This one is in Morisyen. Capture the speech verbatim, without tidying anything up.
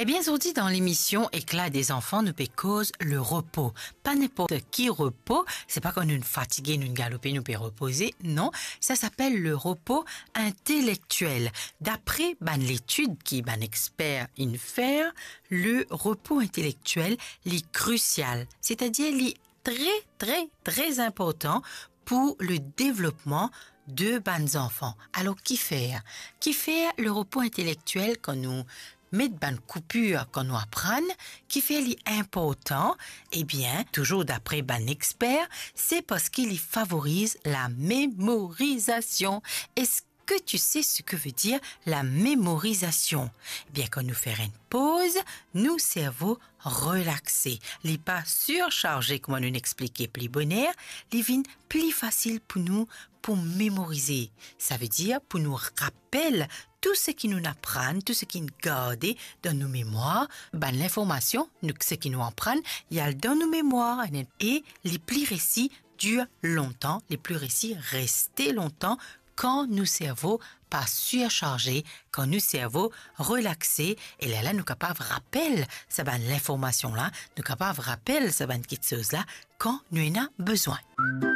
Bien zordi dan lemision Éclat des enfants, nou pe koz le repo. Pa ninport ki repo, se pa kan nou fatige, nou galope, nou pe repoze. Non, sa s'appelle le repos intellectuel. Dapre bann letid ki bann exper inn fer, le repo intelektiel, li krisial, setadir li tre, tre, tre inportan pou le devlopman de bann zanfan. Alor, kifer? Kifer le repo intelektiel, kan nou met bann koupir, kan nou aprann, kifer li inportan? Ebien, touzour dapre bann exper, se parski li favoriz la memorizasion. Eski tu sais ce que veut dire la mémorisation? Ebien, kan nou fer enn poz, nou servo relaxe. Li pa sirsarze, kouma nou explike pli boner, li vinn pli fasil pou nou pou memorize. Savedir pou nou rapel tou seki nou aprann, tou seki nou garde dan nou memwar, bann linformasion, nou, seki nou aprann, li al dan nou memwar, e li pli resi dir lontan, li pli resi reste lontan kan nou servo pa sirsarze, kan nou servo relaxe, e lerla nou kapav rapel sa bann linformasion la, nou kapav rapel sa bann kiksoz la kan nou ena bezwin.